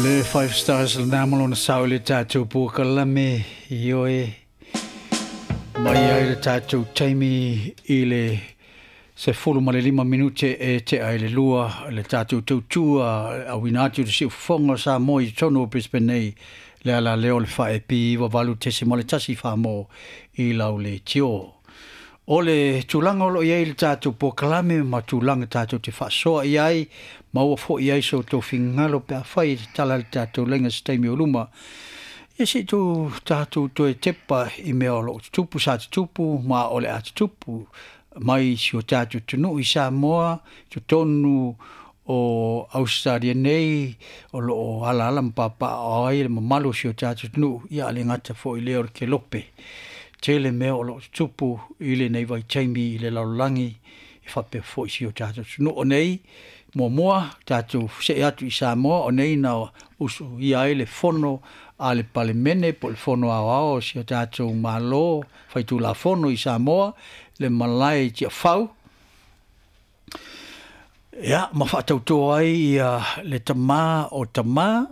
Le Five Stars lena ma lona sao i le tatou polokalame, ioe, mai ai le tatou taimi i le 15 minute e tea i le 2, le tatou tautua auina atu i le siufofoga o Samoa i totonu o Brisbane nei, le ala lea o le 4AP 98.1 Samoa i lau leitio. O le tulaga o lo o i ai le tatou polokalame ma tulaga tatou te faasoa i ai, maua foi i ai so outou finagalo pe afai e tatala le tatou laina se taimi o luma. Ia se i tou tatou toe tepa i mea o lo o tutupu, sa tutupu ma o le a tutupu mai si o tatou atunuu i Samoa, totonu o Ausetalia nei, o lo o alaala ma papaaao ai le mamalu o si o tatou atunuu, ia a le gata foi lea o le kelope. Tele mea o lo o tutupu i lenei vaitaimi i le lalolagi, e faapea foi si o tatou atunuu. O nei, muamua, tatou see atu i Samoa, o nei na usuia ai le fono a le Palemene po o le fono aoao o si o tatou Malo faitulafono i Samoa, le malae i Tiafau, ia, ma faatauto ai ia le tama o tama,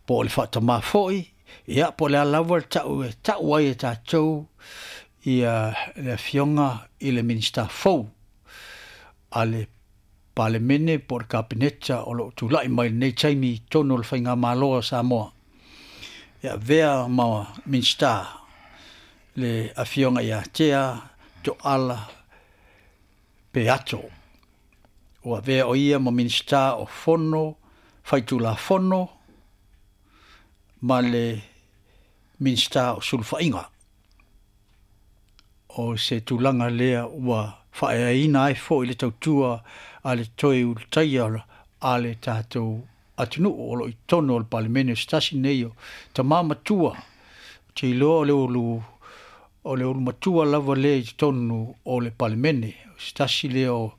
po o le faatamā foi, ia, po o le a lava le tau e tau ai e tatou ia le afioga i le Minisita fou a le Palemene po o le Kapeneta o lo o tulai mai lenei taimi i totonu o le Faigamalo a Samoa. E avea ma Minisita le afioga ia Tea Tooala Peato. Ua avea o ia ma Minisita o Fono Faitulafono ma le Minisita o Sulufaiga. O se tulaga lea ua faaeaina ai foi le tautua a le toe ulutaia a le tatou atunuu o lo o i totonu o le Palemene, o se tasi nei o tama matua. Ou te iloa o le ulu o le ulu matua lava lea i totonu o le Palemene, o se tasi lea o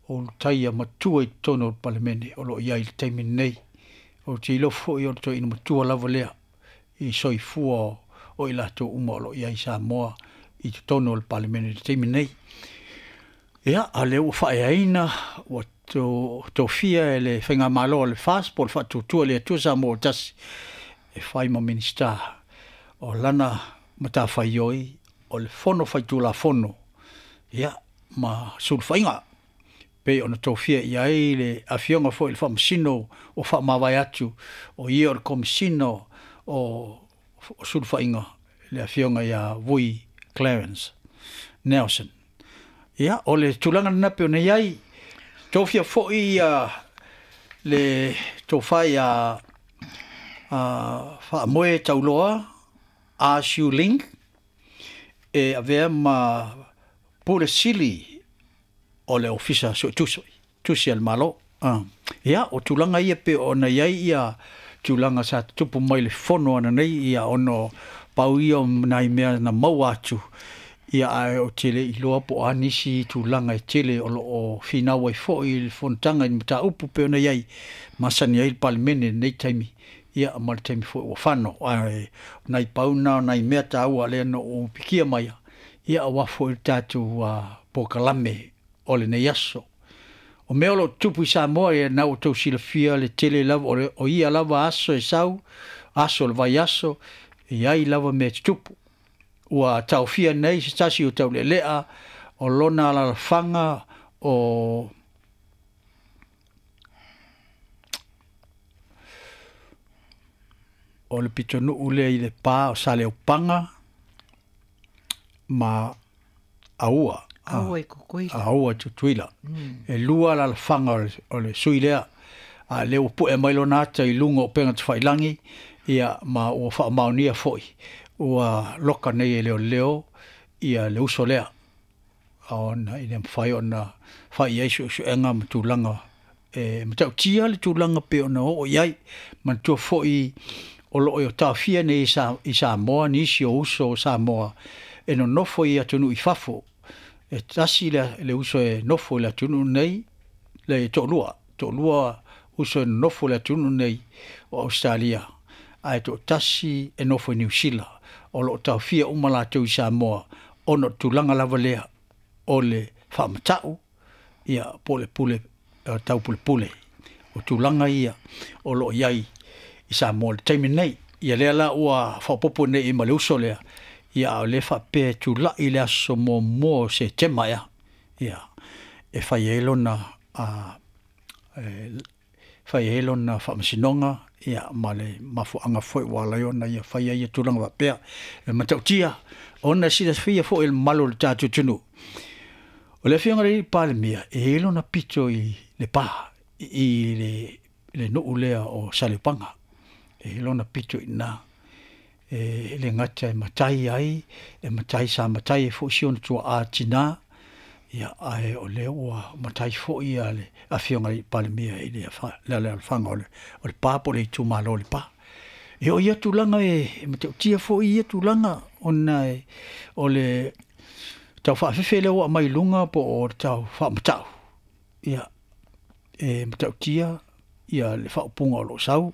ulutaia matua i totonu o le Palemene o lo o i ai i le taimi lenei. Ou te iloa foi o le toeaina matua lava lea i soifua o i latou uma o lo o i ai i Samoa i totonu o le Palemene i le taimi lenei. Ia, a lea ua faaeaina, ua tofia e le Faigamalo a le FAST po o le Faatuatua i le Atua Samoa ua Tasi e fai ma Minisita. O lana matafaioi o le Fono Faitulafono, ia, ma sulufaiga, pei ona tofia i ai le afioga foi i le Faamasino ua faamavae atu, o ia o le Komesina o Sulufaiga, le afioga ia Vui Clarence Nelson. Ia, o le tulaga lena pei ona i ai. Tofia foi ia le tofa ia Faamoe Tauloa A Siu Ling e avea ma Pule Sili o le Ofisa Suetusi tusi a le Malo. Ia, o tulaga ia pei ona i ai ia tulaga sa tutupu mai le fono ananei, ia ona pau ia o nai mea na maua atu, ia ae ou te le iloa po o a nisi tulaga e tele o lo o finau ai foi i le fonotaga i le mataupu pei ona i ai, masani ai le Palemene i lenei taimi, ia ma le taimi foi ua fano. Ae o nai pau na o nai mea taua lea na ou pikia mai, ia aua foi le tatou polokalame o lenei aso. O mea o lo o tutupu i Samoa, ia na ua outou silafia le tele lava o ia lava aso e sau, aso o le vaiaso, e i ai lava mea e tutupu. Ua taofia nei se tasi o taulealea o lona alaalafaga o le pitonuu lea i le pa o Saleopaga ma Aua. Aua i Tutuila. Aua i Tutuila. E lua alaalafaga o le sui lea. A lea ua pue mai lona ata i luga o upega tafailagi, ia ma ua faamaonia foi. Ua loka nei e leoleo ia le uso lea. Ona ina mafai ona fai ai suesuega ma tulaga e matautia le tulaga pei ona oo i ai. Manatua foi o lo o taofia nei i Samoa nisi o uso o Samoa e nonofo i atunuu i fafo. E tasi le uso e nofo i le atunuu nei, le toalua uso e nonofo i le atunuu nei o Australia, ae toatasi e nofo i Niu Sila. O lo o taofia uma latou i Samoa ona o le tulaga lava lea o le faamatau, ia po o le pule taupulepule. O tulaga ia o lo o i ai Samoa i le taimi lenei. Ia lea la ua faaopoopo nei ma le uso lea, ia a o lea faapea e tulai i le aso 1 o Setema ea, ia, e fai ai lona faamasinoga, ia, ma le mafuaaga foi ua ala ai ona ia fai ai ia tulaga faapea. E matautia, ona e silafia foi e le mamalu o le tatou atunuu. O le afioga i le Palemia, e i ai lona pito i le pa, i le nuu lea o Saleopaga. E i ai lona pito i ina. E le gata e matai ai, e matai sa matai ai foi si ona tuaa tina, ia, ae o lea ua matai foi ia le afioga i le Palemia i le alaalafaga o le pa po o le itumalo o le pa. E o ia tulaga e matautia foi ia tulaga ona o le tau faafefe lea ua aumai i luga po o le tau faamatau, ia, e matautia ia le faaupuga o lo o sau.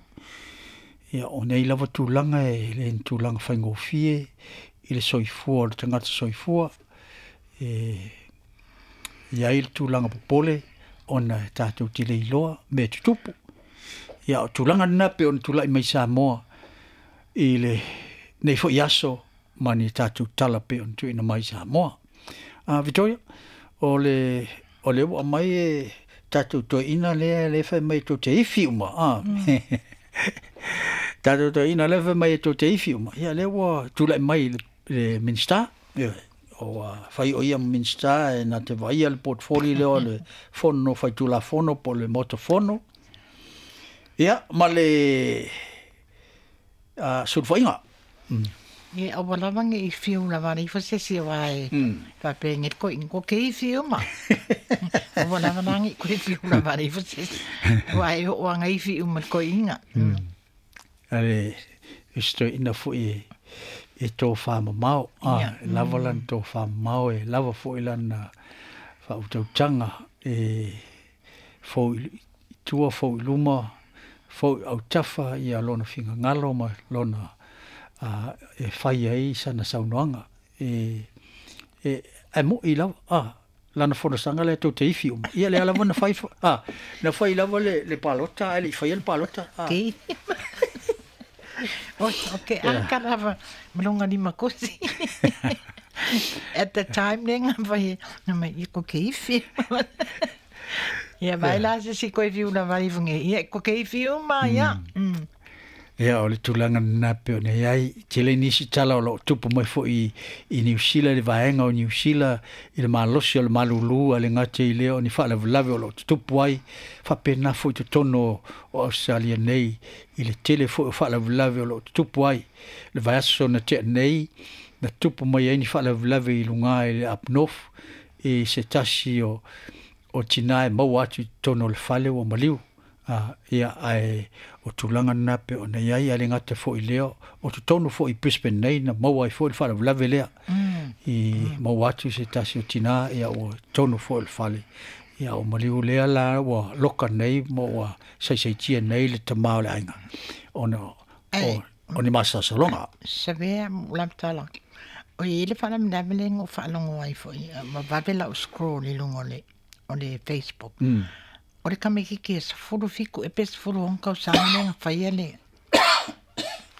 Ia, o nei lava tulaga e le ni tulaga faigofie i le soifua o le tagata soifua. E i ai le tulaga popole ona e tatou te le iloa mea tutupu. Ia, o tulaga lena pei ona tulai mai Samoa i lenei foi aso ma ni tatou tala pei ona tuuina mai Samoa. Victoria, o le ua aumai e tatou toeaina lea le fai mai tou te ifi uma. Tatou toeaina lea fai mai tou te ifi uma. Ia, lea ua tulai mai le Minista. O fai o ia Minista e na te vaia le portfolio lea o le fono faitulafono po o le Maota Fono. Ia, ma le sulufaiga. Ia, aua lava nge i fiu lava le ifa se si wa e faapea nge ko ingo ke i fiu ma. Aua lava la nge ko i fiu lava le ifa se si wa e o anga i fiu ma ko inga. Ale isto ina foi e tō whamamao. Lava lan tō whamamao e lava foi lana whautautanga e fau i tua, fau i luma, fau i autafa ia lona fingangalo ma lona e fai ai sana saunoaga. E mo'i lava, lana fonosaga lea tou te ifi uma. Ia lea lava na fai, na fai lava le palota, ae le i faia le palota. Okay, aka lava malonga ni makosi. At the time nenga vai na mai ko ke ifi. Ia vai la se si ko ifi una vai funge. Ia ko ke ifi uma ia. Ia o le tulaga lena pei ona i ai tele nisi tala o loo tupu mai foi i Niu Sila, le vaega o Niu Sila i le malosi o le malulu a le gata i lea o ni faalavelave o loo tutupu ai faapena foi totonu o Australia nei i le tele foi o faalavelave o loo tutupu ai. Le vaiaso na tea nei na tupu mai ai ni faalavelave i luga i le Up North i se tasi o tina e maua atu i totonu o le fale ua maliu. Ia ae o tulaga lena pei ona i ai a le gata foi lea o totonu foi i Brisbane nei na maua ai foi le faalavelave lea i maua atu se tasi o tina ia ua totonu foi o le fale. Ia o maliu lea la ua loka nei ma ua saisaitia nei le tamā o le aiga ona o ni masalosaloga. Savea lamtala. O i le faalavelave le go faalogo ai foi ma vave lau scroll i luga o le Facebook. O le kamikiki e sefulu fiku e pe sefulu ono tausaga le gafaia le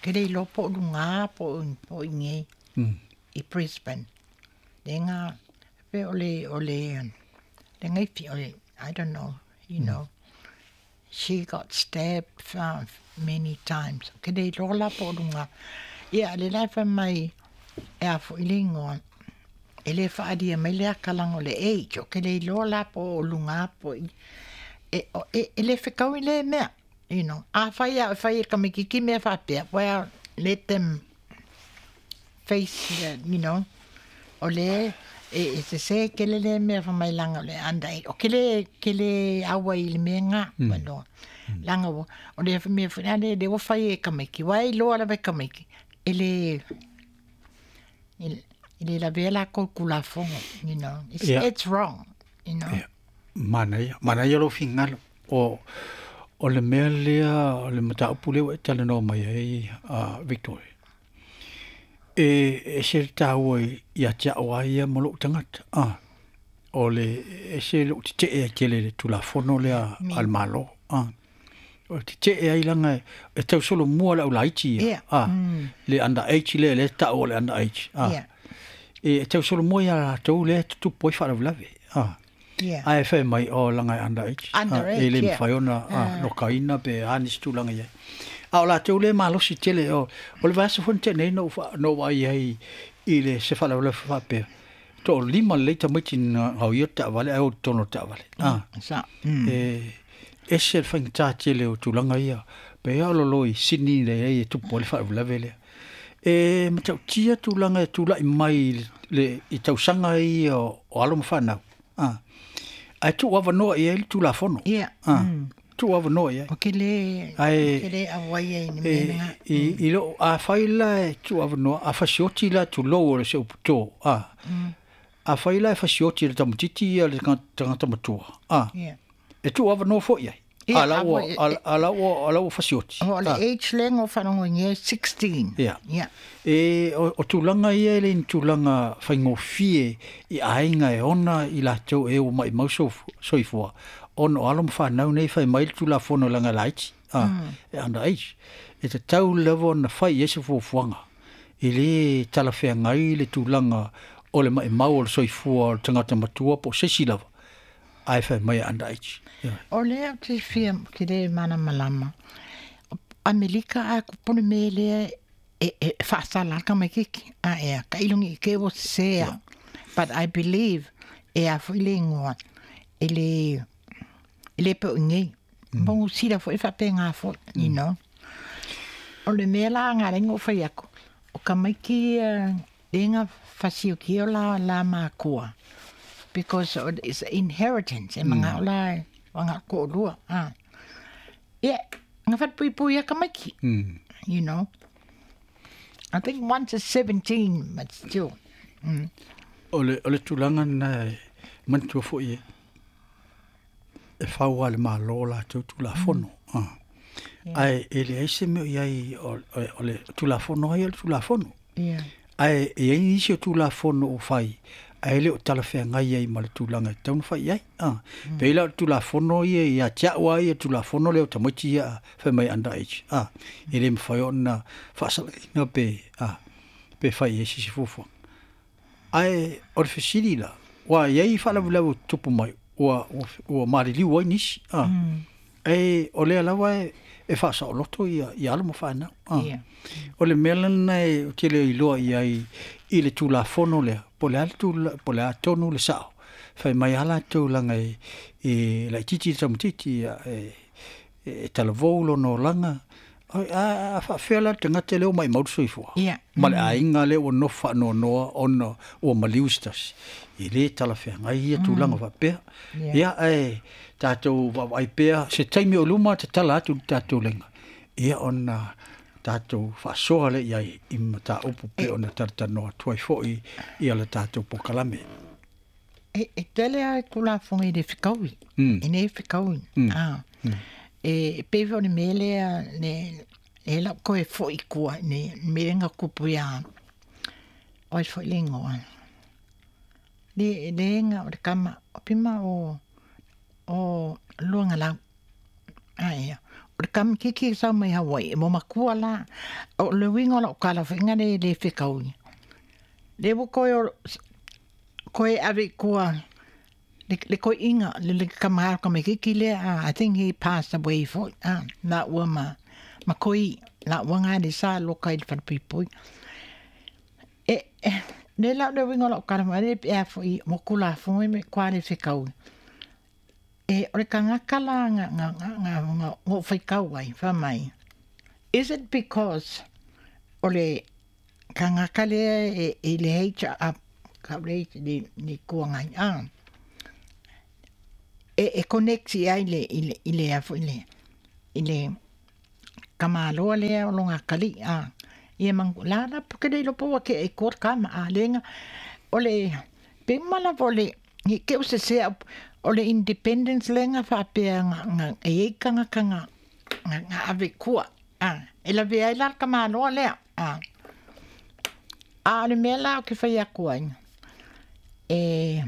ke le iloa po o lugā po o igei i Brisbane. Le ga pe o le o le le gaifi o le I don't know, you know. She got stabbed many times. Ke le iloa la po o lugā. Ia le la fai mai e a fo'i le igoa. E le faalia mai le akalaga o le age o ke le iloa la po o lugā po i e le fekau i le mea, you know. A fai a fai e kamikiki mea faapea, well, let them face that, you know. O le e se se ke le le mea fa mai langa o le under age. O ke le aua i le mea ngā, mm. Langa o le mea fa le ua fai e kamiki, wai loa la vai kamiki. E le e le lavea la ko kulafongo, you know. It's, yeah. It's wrong, you know. Yeah. Manaia lou fingalo o le mea lea o le mataupu lea ua e talanoa mai ai Victoria. E se taua ia te a'o ai ia ma lo'u tagata. O le e se lo'u tete'e ai tele le tulafono lea a le Malo. Te ai langa e tau solo mua le au laiti ia. Le under age le tau o le under age. E tau solo mua ia latou le tutupu ai faalavelave. Ae fai mai o langa e under age. E le mafai ona lokaina pe a nisi tulaga i ai. A o latou le malosi tele o le vaiaso foi na tea nei na ou vaai ai i le se faalavelave faapea. 5 lelei tamaiti na gaoia le taavale ae o i totonu o le taavale. E ese le faigata tele o tulaga ia. Pe ia o lolo i Sydney le ai e tupu ai le faalavelave lea. E matautia tulaga e tulai mai i tausaga ia o alo ma fanau. Ae tuu avanoa i ai le Tulafono. Tuu avanoa i ai. O ke le auai ai ni mea nga. I loo afai la e tuu avanoa, a fasioti la tulou o le se upu tō. Afai la e fasioti le tamatiti ia le tagata matua. E tuu avanoa foi ai. A la ua fasioti. O le age le ngo whanongo nge 16. E o tulaga ia e le ni tulaga faigofie i aiga e ona i latou e ua maimau soifua. Ona o alo ma fanau nei fai mai le Tulafono langa laiti. E under age. E tatau lava ona fai i ai se fuafuaga. E le talafeagai le tulaga o le maimau o le soifua o le tagata matua po o se isi lava. Ae fai mai e under age. O lea o te fia ki le mana malama. Amerika a kupone me lea e whaasala ka mai kiki. A ea, ka ilungi i ke o sea. But I believe e a fo ile ingoa. E le pe o ngei. Mongu sira fo e whape ngā fo, you know. O le mea la ngā rengo whai ako. O ka mai ki lenga whasio ki o la mākua. Because it's inheritance. E mga o la wanga ko lua. Yeah, ngā whatpui a ka maiki. You know. I think once is 17, but still. O le tulaga na manatua foi e fau a le malo latou Tulafono. Ae e leai se mea o i ai o le Tulafono ai o le Tulafono. Ae e i ai nisi o Tulafono o fai, ae le o talafeagai ai ma le tulaga e tatau ona fai i ai. Pei la o le Tulafono ia ia te au lava ia Tulafono lea o tamaiti ia fai mai under age. E le mafai ona faasalaina pe fai i ai sisi fuafuaga. Ae o le fesili la, ua i ai faalavelave o tutupu mai, ua maliliu ai nisi. E o lea lava e faasaoloto ia alo ma fanau. O le mea lena e ou te le iloa i ai i le Tulafono lea, po o le a tonu le sao. Fai mai a latou laga e laitiiti le tamaitiiti e talavou lona olaga. A faafea la le tagata lea ua maimau le soifua. Ma le aiga lea ua nofo faanoanoa ona ua maliu se tasi. E le talafeagai ia tulaga faapea. Ia ae tatou vaavaai pea se taimi o luma tatala atu le tatou laga. Ia ona tatou faasoa lea i ai i mataupu pe ona talatalanoa atu ai foi ia le tatou polokalame. E tele a e Tulafono i le fekaui. E nei fekaui. E pe o le mea lea le lau koe foi kua ne me nga kupu ia. Oi foi le ingoa. Le nga o le kama o pima o luanga lau. Aia. O le kama kiki sau mai Hawaii. E mo makua la. O le winga o lau kala whainga le fekaui. Le wo koe o koe ave kua le koe inga le kama ka me kiki le. I think he passed away for na ua ma koi la ua ngā le sa loka i le whanapipui. E ne lau le winga o lau kala mai le pea fo i mo kula fo i me kwa le fekaui. E o le kangaka la nga whaikau ai, wha mai. Is it because o le kangaka lea e le heicha a ka le ni kuangai a e connecti ai le i le afo i le kamaloa lea o longa kali a ia mangu la la porque le lopo ke e kor kama a lenga o le pe mala vole ni ke o se se o le independence lenga fa pe nga e kanga kanga nga ave kua a e la ve ai la kamaloa lea a a le mela o ke fai akua e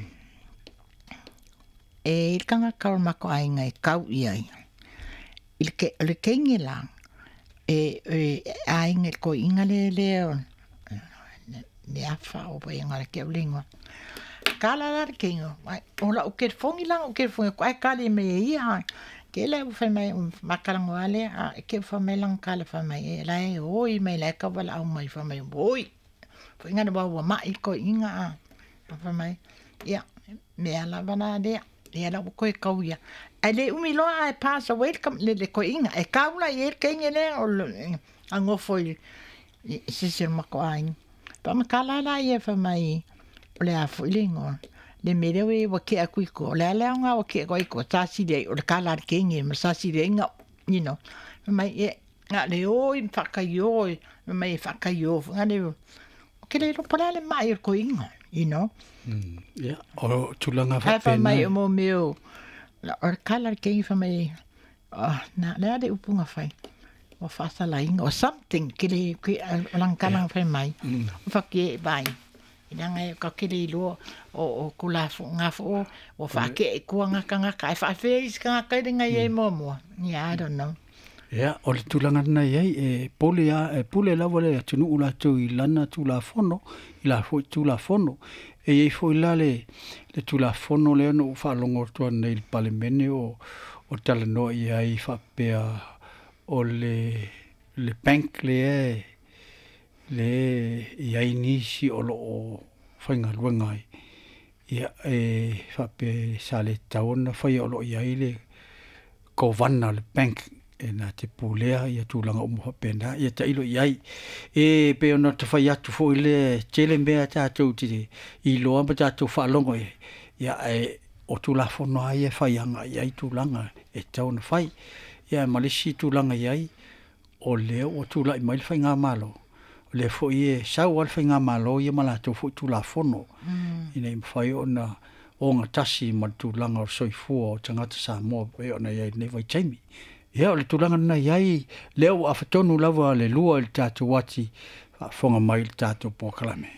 e kanga kau mako ai ngai kau i ai. I le o le keini la, e aiga i le toeaina lea lea o le afa o le ke au le igoa. Kala la le keini, o la'u telefoni la na ou telefoni atu ae tali mai e ia. Ke lea ua fai mai matalanoa lea, a ke ua fai mai lana tala fai mai e la e oi mai la e tauwalaau mai fai mai oi. Foi ngana wa ua ma'i le toeaina a. Fai mai, ia, mea lava la lea, lea la ua toe tau ia. Ae le umi loa ae pass away le le toeaina. E tau la i ai le teine lea o le a nofo i se isi o le matou aiga. Faamatala la ia fai mai o le a foi le igoa. Le mea lea ua tea atu i tua, o le a le aoga ua tea atu ai i tua, sa sili ai o le kala a le teine ma sa sili ai na, you know. Fai mai, ia, na o le o i faataio, fai mai e faataio foi na le, ou te le iloa po o le a le mai o le toeaina, you know. Ia, o tulaga Ae fai mai faapena. o mo mea o, o le kala a le teine fai mai, oh, na le a le upu na fai, ua faasalaina or something, ke le, ke, o lana tala na fai mai. O faki e vai. I leaga e ka kele iloa o o ko la fo nga fo o whaake e kua ngaka ngaka e whaafea isi kangaka i lenga i e muamua. Yeah, I don't know. Ia, o le tulaga lena i ai, e pole a, e pule lava le atunuu latou i lana Tulafono, i la foi Tulafono. E i ai foi la le, le Tulafono lea na ou faalogo atu nei i le Palemene o, o talanoa i ai faapea o le, le bank lea e, le i ai nisi o lo o faigaluega ai. Ia, e faapea sa le tatau ona faia o lo o i ai le kovana o le bank e na te pulea ia tulaga uma faapena, ia tailo i ai. E pei ona ta fai atu foi lea, e tele mea tatou te iloa ma tatou faalogo i ai, ia ae o Tulafono lava ia e fai agai i ai tulaga e tatau ona fai. Ia ma le isi tulaga i ai, o lea ua tulai mai le faigamalo, o lea foi e sau lava le faigamalo ia ma latou foi Tulafono, ina ia mafai ona ogatasi ma le tulaga o le soifua o tagata Samoa pei ona i ai i lenei vaitaimi. Ia, o le tulaga lena i ai, lea ua afatonu lava le lua i le tatou ati faafofoga mai i le tatou polokalame.